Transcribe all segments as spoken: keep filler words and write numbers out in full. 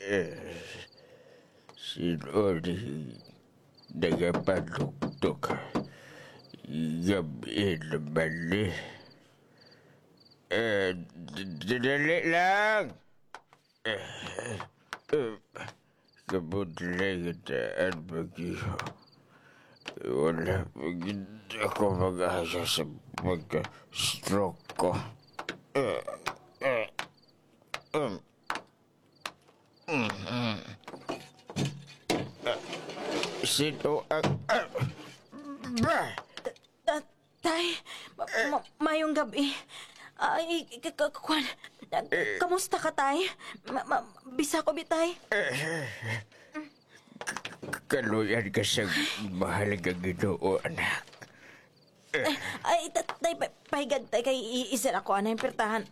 Eh, sino ni nagapanuktok? Gab-i naman ni. Eh, d-, d-, dali lang! Eh, eh, kabudlay kita ang pag-iho. Wala pa gid ako mag-asa sa pagka-stroke ko. Eh, eh, um, mm, mm. Ah, sino ang, ah, bah! Ta-, tay, ma-, ma-, mayong gabi. Ay, ka-, ka-, kwan, ah, kamusta ka, tay? Ma-, ma-, bisa ko, bitay. K-, k-, kaluyan ka sa mahal nga Ginoo, anak. Ay, ay, ta-, tay, pa-, pahigad, tay, kay i-, isira ko anay pirtahan.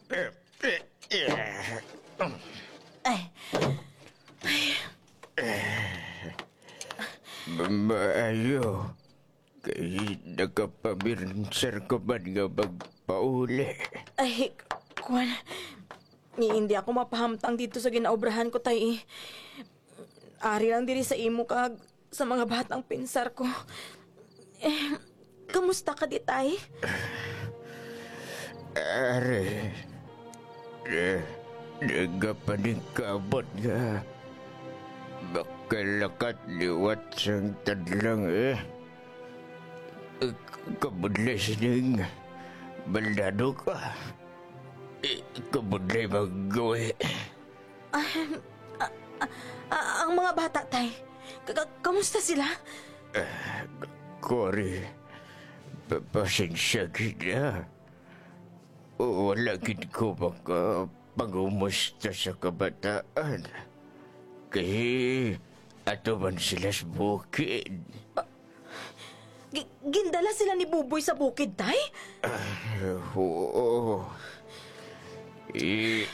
Ay. Ma-, maayo. Kay nakapabinsar ka man nga magpauli. Ay, kwan. Ni, hindi ako mapahamtang dito sa ginaobrahan ko, tay, eh. Ari lang diri sa imo kag sa mga batang pinsar ko. Eh, kamusta ka di, tay? Ari, eh, nagapaningkamot nga makalakat liwat sang tadlang, eh. Kabudlay sining baldado ka. Eh, kabudlay maggawi. Ah, ah, ah, ah, ang mga bata, tay. Ka-, ka-, kamusta sila? Ah, Cory, pa-, pasensya gid, ah. Wala gid ko makapangumusta sa kabataan. Kay ato man sila sa bukid. Ah, gi-, gindala sila ni Buboy sa bukid, tay? Ah, oo. I-,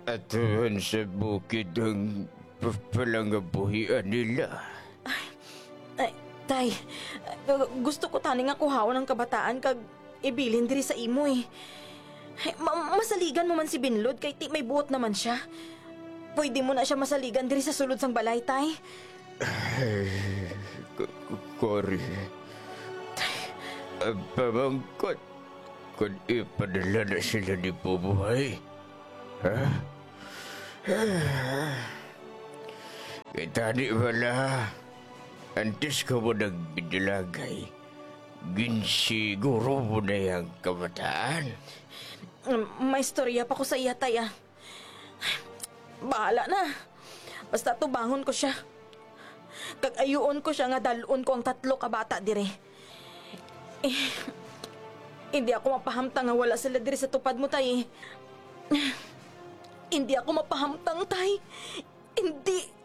ato man sa bukid ang pa-, palangabuhian nila. Ay, tay, gu-, gusto ko tani nga kuhaon ang kabataan kag ibilin diri sa imo, eh. Ma-, masaligan mo man si Binlod kay ti may buot naman sia. Pwede mo na sia masaligan diri sa sulod sang balay, tay. Ay, K-, K-, Cory. Ang pamangkot, kung ipadala na sila ni Buboy. Ha? Kita di bala, antes ka mo nagbidlagay, ginsiguro mo na yang kabataan. Mm, may istorya pa ko sa iya, tay, ah. Bahala na. Basta tubangon ko sia. Kag ayuon ko sia nga dal-on ko ang tatlo ka bata diri. Eh, hindi ako mapahamtang nga wala sila diri sa tupad mo, tay. Hindi ako mapahamtang, tay. Hindi.